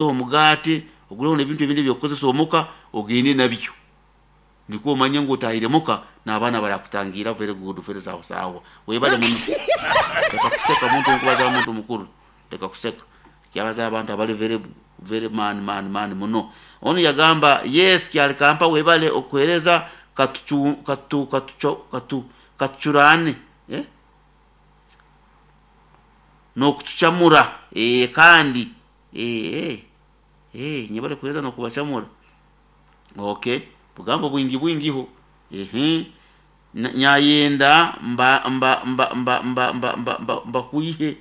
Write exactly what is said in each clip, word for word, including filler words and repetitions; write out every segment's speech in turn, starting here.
Omugati oguleho n'ebintu ebindi ebyokukozesa omuka, ogende nabyo nikwo omanye ngu otahire muka n'abaana barakutangira. Very good, very sawa sawa, webale muno. Leka kuseka, muntu nkubaza, muntu mukuru, leka kuseka. Kyabaza abantu abali very very man man man muno. Onu yagamba, yes, kyali kampa, webale okuhereza. Katuchu katu katu katu katucurane, eh? N'okutucamura, eh, kandi eh, eh, eh, nyebale kuhereza n'okubacamura. Okay, bugambo bwingi bwingiho. Ehe, nyayenda mba mba mba mba mba mba mba mba mbakwihe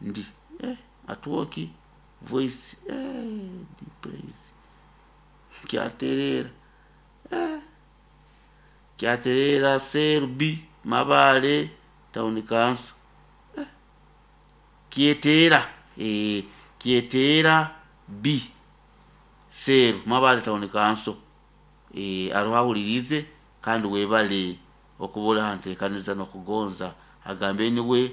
ndi eh, atwoki voice, eh, praise kyaterera, eh, kyaterera Selby Mabale Town Council, eh, Kyetera, eh, Kyetera B Seru Mabale Town Council, eh, aroho ahulirize kandi webale okubura hantekaniza n'okugonza. Agambe niwe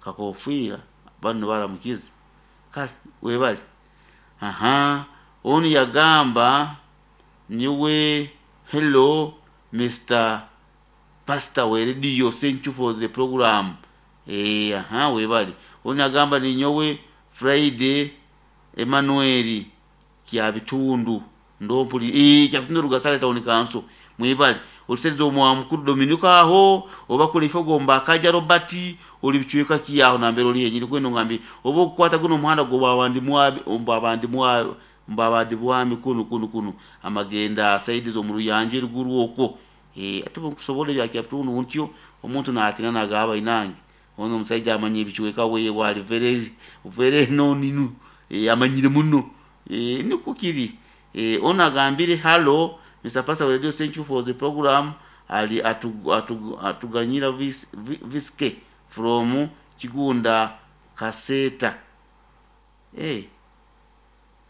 kakofiira banu baramukize. Kale webale. Aha, onu yagamba niwe, hello Mister Pastor we radio, thank you for the program. Eh, aha, webale. Onu yagamba ninyowe Friday Emmanuel Kyabitundu ndompuli, eh, Kyabitundu Rugasale Town Council, mwebale. Oluseriza omwa mukuru Dominika aho oba kule ifo gomba akaja Robert oli bicweka kiyaho nambere oli yenyini kweno ngambi oba okukwata guno omuhanda gwo babandi mwabi mbabandi mwabi mbabandi bwami kunu kunu kunu amagenda saidi zo muruyanje ruguru okwo, eh, ate nkusobola bya Kyabitundu ntyo omuntu natina nagaba inange ono omusajja amanye ebicweka we wali very very noninu, eh, amanyire muno, eh, niko kiri. Eh, ono agambire, hello Mister Pastor Radio, thank you for the program. Ali atuganyira atu, atu vis, viske from Kigunda Kaseta. Eh,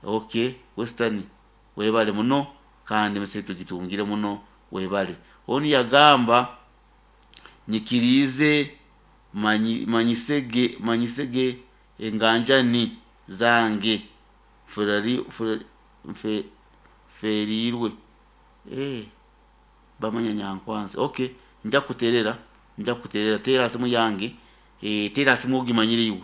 okay, Western, webale muno kandi mese tugitungire muno, webale. Onu yagamba nyikirize manyi, manyisege manyisege enganjani zange ferari fer, fe, ferirwe, eh, bamanya nyankwanza. Okay, nja kuterera nja kuterera tera simu yange, eh, tera simu ogimanyire iwe,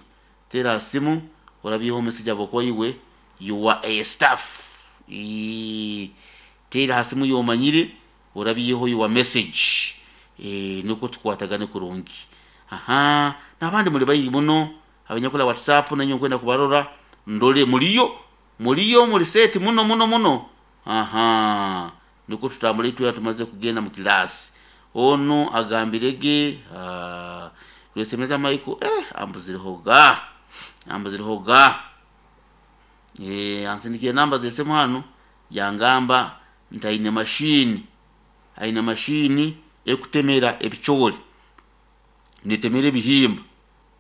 tera simu orabyeho message abo iwe you are a staff, eh, tera simu yomanyire orabyeho your message, eh, nuko tukwatagane kurungi. Aha, nabandi muri bayingi muno abanyakula WhatsApp nanyo nkwenda kubarora ndole muliyo muliyo muri seti muno muno muno. Aha, nuko tutambule tuya tumaze kugenda mu kilasi. Ono agambirege uh, lwesemeza Michael, eh, ambuzireho ga ambuzireho ga eh, ansindikiye namba zesemu hano yangamba ntaine mashini aine mashini ekutemera ebichori, netemera ebihimba,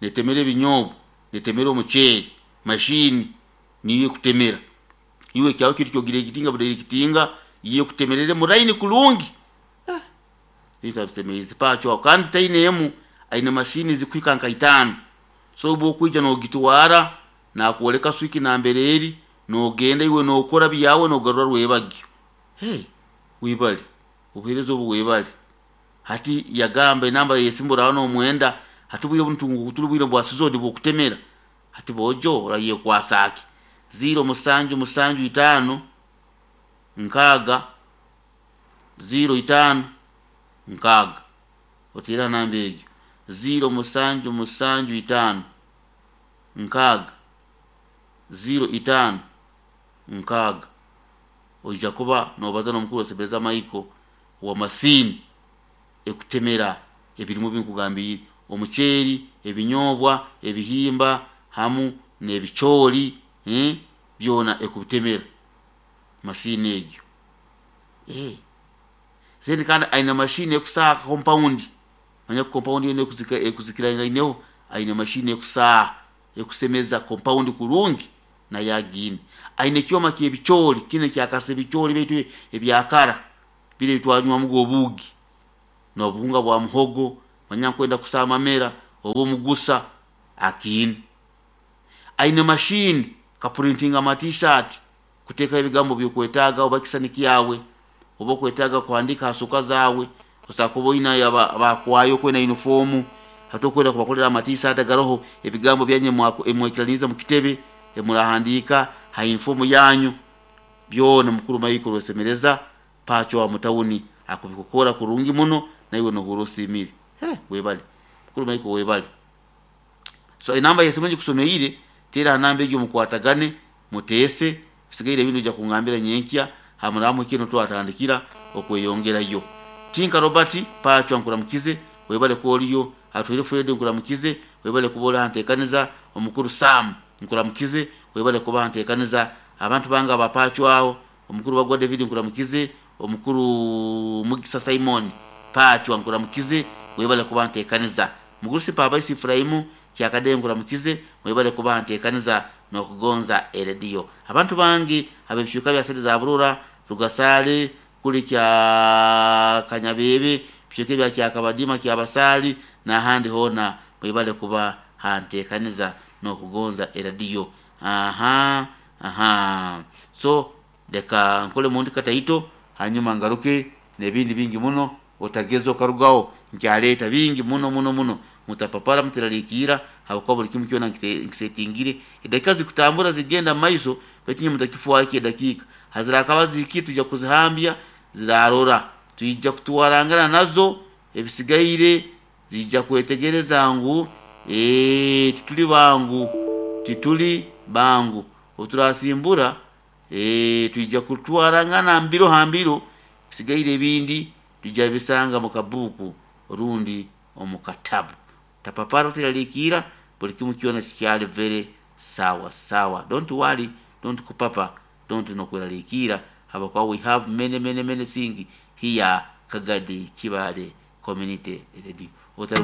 netemera ebinyobwa, netemera omuceeri. Mashini niyo ekutemera iwe kyawe kintu kyogire ekitinga budere kitinga iye kutemerere muraini kulungi, eh, itabisemeizi pacho kandi tainemu aine mashini zikwika nka itano. So obu okuija nogitwara nakuoleka swiki nambere eri nogenda iwe nokora byawe nogarura rwebagyo. Hey, wibale obuhereza obu, webale. Hati yagamba enamba yesimbura hano omwenda hatubwire buntu tuli bwa sizoni bwokutemera hati bojo oraye kwasaki zero musanju musanju itano nkaga zero itano nkaga otira namba egyo zero musanju musanju itano nkaga zero itano nkaga oija kuba nobaza n'omukuru osebeza Michael wa masini ekutemera ebirimu binkugambire omuceeri, ebinyobwa, ebihimba hamu n'ebicoori, eh, byona ekubitemera mashini egyo. Eh, zeni kandi aina mashini ekusaha compound, manya compound yene ekuzika ekuzikirangaineho aina mashini ekusaha ekusemeza compound kurungi na yagine aina ekyoma ky'ebicoori kine kyakasa ebicoori baitu ebyakara bire bitwanywamu obuugi n'obuhunga bwa muhogo manya nkwenda kusama amamera Oba omugusa akiine, aine mashini kapurintinga ama-T-shirt kuteekaho ebigambo byokwetaaga, oba kisani kyawe, oba okwetaaga kuhandiika ha suka zaawe. Osobola kuba oine abakwayo okwenda uniform, hati okwenda kubakolera ama-T-shirt agaroho ebigambo byanyu ebimwikiraniize mukitebe, ebimurahandiika ha uniform yanyu byona. Mukuru Michael Rwesemereza Pacho wa mutawuni akubikukora kurungi muno, naiwe nohurra osiimire. Webale mukuru Michael, webale. So enamba yesimu ngikusomeire, teera ha namba egi mukwatagane, muteese. Bisigaire ebindi oija kungambira nyenkya hamuramuhikire nitwatandikira okweyongerayo. Tinka Robert Pacho nkuramukize, webale kuba oriyo. Atuhaire Fred, nkuramukize, webale kuba ori hanteekaniza. Omukuru Sam, nkuramukize, webale kuba hanteekaniza. Abantu bange aba Pacho aho, omukuru Bagwa David, nkuramukize. Omukuru Mugisa Simon Pacho, nkuramukize, webale kuba nteekaniza. Mugurusi Mpabaisi Ifurahimu Kyakade, nkuramukize, webale kuba nteekaniza n'okugonza erediyo. Abantu bange ab'ebicweka bya sente za Burora, Rugasaale, kuli kya Kanyabebe, bicweka ebya Kyakabadima, Kyabasaali n'ahandi hoona, mwebale kuba hanteekaniza n'okugonza erediyo. Aha aha, so leka nkole muntu kataito, hanyuma ngaruke n'ebindi bingi muno. Otageza okarugaho, nkyaleeta bingi muno muno muno. Mutapapara, muteralikiira, habwokuba buli kimu kyona nkisetingire. Edakiika zikutambura zigenda mumaiso, baitu inywe mutakifwaho. Edakiika hazirakaba zihikire, twija kuzihambya, zirarora, twija kutwarangana nazo. Ebisigaire ziija kwetegereza ngu tituli bangu, tituli bangu. Obu turasimbura, twija kutwarangana mbiro ha mbiro. Bisigaire ebindi twija bisanga mu kabuuku rundi omu katabu. Tapapara, oteralikiira, buli kimu kyona kikyali very sawa sawa. Don't worry, don't kupapa, don't nokweralikiira, habwokuba we have many many many things here. Kagadi Kibaale Community Radio.